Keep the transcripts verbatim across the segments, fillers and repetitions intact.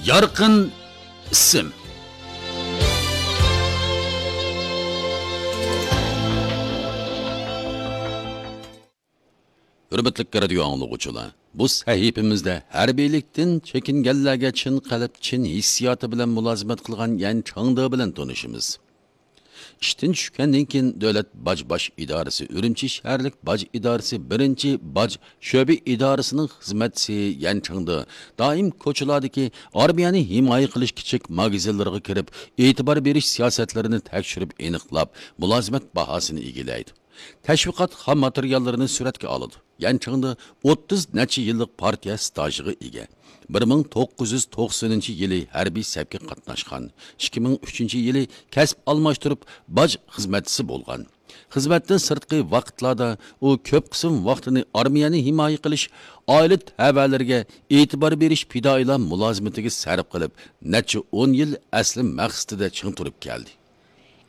يارقىن ئىسىم. ھۆرمەتلىك رادىيو ئاڭلىغۇچىلار، بۇ سەھىپىمىزدە ھەربىيلىكتىن چېكىنگەنلەرگە چىن قەلب، چىن ھېسسىياتى بىلەن مۇلازىمەت قىلغان يەن چاڭدې بىلەن تونۇشىمىز. ئىشتىن چۈشكەندىن كېيىن، دۆلەت باج باش ئىدارىسى ئۈرۈمچى شەھەرلىك باج ئىدارىسى بىرىنچى باج شۆبە ئىدارىسىنىڭ خىزمەتچىسى يەن چاڭدې دائىم كوچىلاردىكى ئارمىيەنى ھىمايە قىلىش كىچىك ماگىزىنلىرىغا كىرىپ، ئېتىبار بېرىش سىياسەتلىرىنى تەكشۈرۈپ ئېنىقلاپ، مۇلازىمەت باھاسىنى ئىگىلەيدۇ. تەشۋىقات خام ماتېرىياللىرىنى سۈرەتكە ئالىدۇ. يەن چاڭدې ئوتتۇز نەچچە يىللىق پارتىيە ستاژىغا ئىگە. بىر مىڭ توققۇز يۈز توقسىنىنچى يىلى ھەربىي سەپكە قاتناشقان. ئىككى مىڭ ئۈچىنچى يىلى كەسىپ ئالماشتۇرۇپ، باج خىزمەتچىسى بولغان. خىزمەتتىن سىرتقى ۋاقىتلاردا ئۇ كۆپ قىسىم ۋاقتىنى ئارمىيەنى ھىمايە قىلىش، ئائىلە تەۋەلىرىگە ئېتىبار بېرىش، پىدائىيلار مۇلازىمىتىگە سەرپ قىلىپ، نەچچە ئون يىل ئەسلى مەقسىتىدە چىڭ تۇرۇپ كەلدى.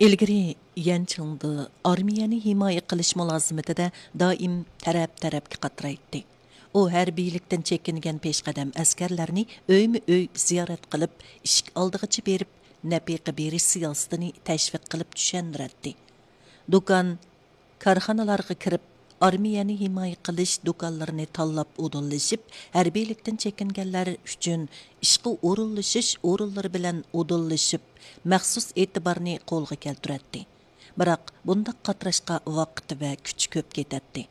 ئىلگىرى يەن چىڭدې ئارمىيەنى ھىمايە قىلىش مۇلازىمىتىدە دائىم تەرەپ-تەرەپكە قاترايتتى. ئۇ ھەربىيلىكتىن چېكىنگەن پېشقەدەم ئەسكەرلەرنى ئۆيمۇ-ئۆي زىيارەت قىلىپ، ئىشىك ئالدىغىچە بېرىپ، نەپىقە بېرىش سىياسىتىنى تەشۋىق قىلىپ چۈشەندۈرەتتى. دۇكان، كارخانىلارغا كىرىپ، ئارمىيەنى ھىمايە قىلىش دۇكانلىرىنى تاللاپ ئۇدۇللىشىپ، ھەربىيلىكتىن چېكىنگەنلەر ئۈچۈن ئىشقا ئورۇنلىشىش ئورۇنلىرى بىلەن ئۇدۇللىشىپ، مەخسۇس ئېتىبارنى قولغا كەلتۈرەتتى. بىراق، بۇنداق قاتراشقا ۋاقىت ۋە كۈچ كۆپ كېتەتتى.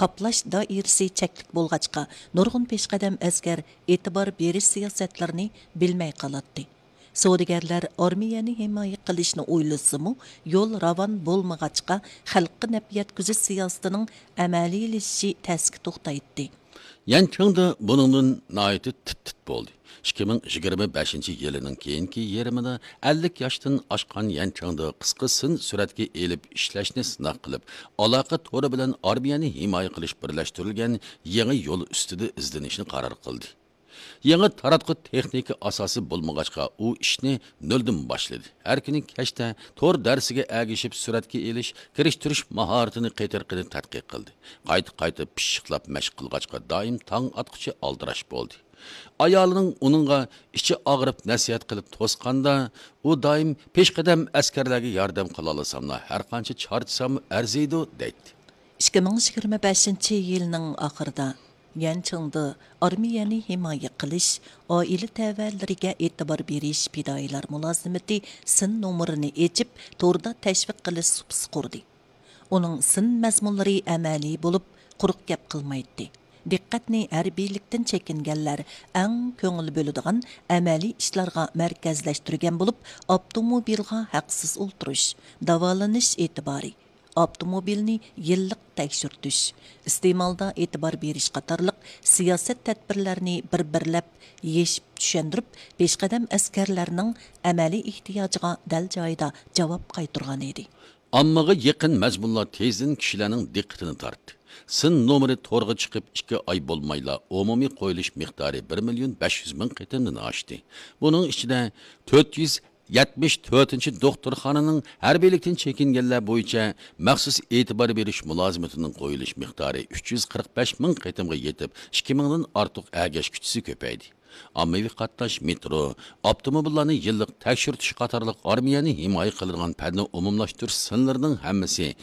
قاپلاش دائىرىسى چەكلىك بولغاچقا، نۇرغۇن پېشقەدەم ئەسكەر ئېتىبار بېرىش سىياسەتلىرىنى بىلمەي قالاتتى. سودىگەرلەر ئارمىيەنى ھىمايە قىلىشنى ئويلىسىمۇ، يول راۋان بولمىغاچقا، خەلققە نەپ يەتكۈزۈش سىياسىتىنىڭ ئەمەلىيلىشىشى تەسكە توختايتتى. يەن چىڭدې بۇنىڭدىن ناھايىتى تىت-تىت بولدى. ئىككى مىڭ يىگىرمە بەشىنچى يىلىنىڭ كېيىنكى يېرىمىدا ئەللىك ياشتىن ئاشقان يەن چىڭدې قىسقا سىن سۈرەتكە ئېلىپ ئىشلەشنى سىناق قىلىپ، ئالاقە تورى بىلەن ئارمىيەنى ھىمايە قىلىش بىرلەشتۈرۈلگەن يېڭى يول ئۈستىدە ئىزدىنىشنى قارار قىلدى. يېڭى تاراتقۇ تېخنىكا ئاساسى بولمىغاچقا، ئۇ ئىشنى نۆلدىن باشلىدى. ھەر كۈنى كەچتە تور دەرسىگە ئەگىشىپ سۈرەتكە ئېلىش، كىرىشتۈرۈش ماھارىتىنى قېتىرقىنى تەتقىق قىلدى. قايتا-قايتا پىششىقلاپ مەشىق قىلغاچقا، دائىم تاڭ ئاتقۇچە ئالدىراش بولدى. ئايالىنىڭ ئۇنىڭغا ئىچى ئاغرىپ نەسىھەت قىلىپ توسقاندا، ئۇ دائىم پېشقەدەم ئەسكەرلەرگە ياردەم قىلالىساملا، ھەرقانچە چارچىساممۇ ئەرزىيدۇ، دەيتتى. ئىككى مىڭ يىگىرمە بەشىنچى يىلنىڭ ئاخىرىدا يەن چىڭدې ئارمىيەنى ھىمايە قىلىش، ئائىلە تەۋەلىرىگە ئېتىبار بېرىش، پىدائىيلار مۇلازىمىتى سىن نومۇرىنى ئېچىپ، توردا تەشۋىق قىلىش سۇپىسى قۇردى. ئۇنىڭ سىن مەزمۇنلىرى ئەمەلىي بولۇپ، قۇرۇق گەپ قىلمايتتى. دىققەتنى ھەربىيلىكتىن چېكىنگەنلەر ئەڭ كۆڭۈل بۆلىدىغان ئەمەلىي ئىشلارغا مەركەزلەشتۈرگەن بولۇپ، ئاپتوموبىلغا ھەقسىز ئولتۇرۇش، داۋالىنىش ئېتىبارى، ئاپتوموبىلنى يىللىق تەكشۈرتۈش، ئىستېمالدا ئېتىبار بېرىش قاتارلىق سىياسەت تەدبىرلەرنى بىر-بىرلەپ يېشىپ چۈشەندۈرۈپ، پېشقەدەم ئەسكەرلەرنىڭ ئەمەلىي ئېھتىياجىغا دەل جايىدا جاۋاب قايتۇرغانىدى. ئاممىغا يېقىن مەزمۇنلار تېزدىن كىشىلەرنىڭ دىققىتىنى تارتتى. سىن نومۇرى تورغا چىقىپ ئىككى ئاي بولمايلا، ئومۇمىي قويۇلۇش مىقدارى بىر مىليون بەش يۈز مىڭ قېتىمدىن ئاشتى. بۇنىڭ ئىچىدە تۆت يۈز يەتمىش تۆتىنچى دوختۇرخانىنىڭ ھەربىيلىكتىن چېكىنگەنلەر بويىچە مەخسۇس ئېتىبار بېرىش مۇلازىمىتىنىڭ قويۇلۇش مىقدارى ئۈچ يۈز قىرىق بەش مىڭ قېتىمغا يېتىپ، ئىككى مىڭدىن ئارتۇق ئەگەشكۈچىسى كۆپەيدى. ئاممىۋى قاتناش، مېترو، ئاپتوموبىللارنى يىللىق تەكشۈرتۈش قاتارلىق ئارمىيەنى ھىمايە قىلىدىغان پەننى ئومۇملاشتۇرۇش سىنلىرىنىڭ ھەممىسى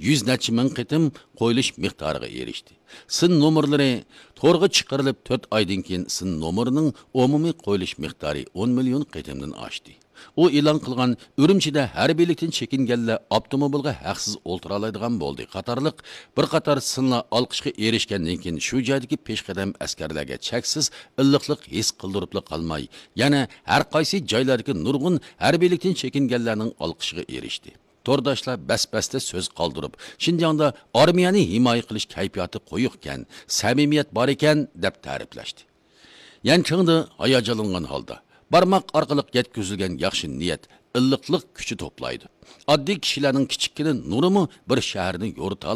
يۈز نەچچە مىڭ قېتىم قويۇلۇش مىقدارىغا ئېرىشتى. سىن نومۇرلىرى تورغا چىقىرىلىپ تۆت ئايدىن كېيىن سىن نومۇرىنىڭ ئومۇمىي قويۇلۇش مىقدارى ئون مىليون قېتىمدىن ئاشتى. ئۇ ئېلان قىلغان ئۈرۈمچىدە ھەربىيلىكتىن چېكىنگەنلەر ئاپتوموبىلغا ھەقسىز ئولتۇرالايدىغان بولدى قاتارلىق بىر قاتار سىنلار ئالقىشقا ئېرىشكەندىن كېيىن، شۇ جايدىكى پېشقەدەم ئەسكەرلەرگە چەكسىز ئىللىقلىق ھېس قىلدۇرۇپلا قالماي، يەنە ھەر قايسى جايلاردىكى نۇرغۇن ھەربىيلىكتىن چېكىنگەنلەرنىڭ ئالقىشىغا ئېرىشتى. تورداشلار بەس-بەستە سۆز قالدۇرۇپ، شىنجاڭدا ئارمىيەنى ھىمايە قىلىش كەيپىياتى قويۇقكەن، سەمىمىيەت بار ئىكەن، دەپ تەرىپلەشتى. يەن چىڭدې ھاياجانلانغان ھالدا، بارماق ئارقىلىق يەتكۈزۈلگەن ياخشى نىيەت، ئىللىقلىق كۈچى توپلايدۇ. ئاددىي كىشىلەرنىڭ كىچىككىنە نۇرىمۇ بىر شەھەرنى يورۇتالىدۇ.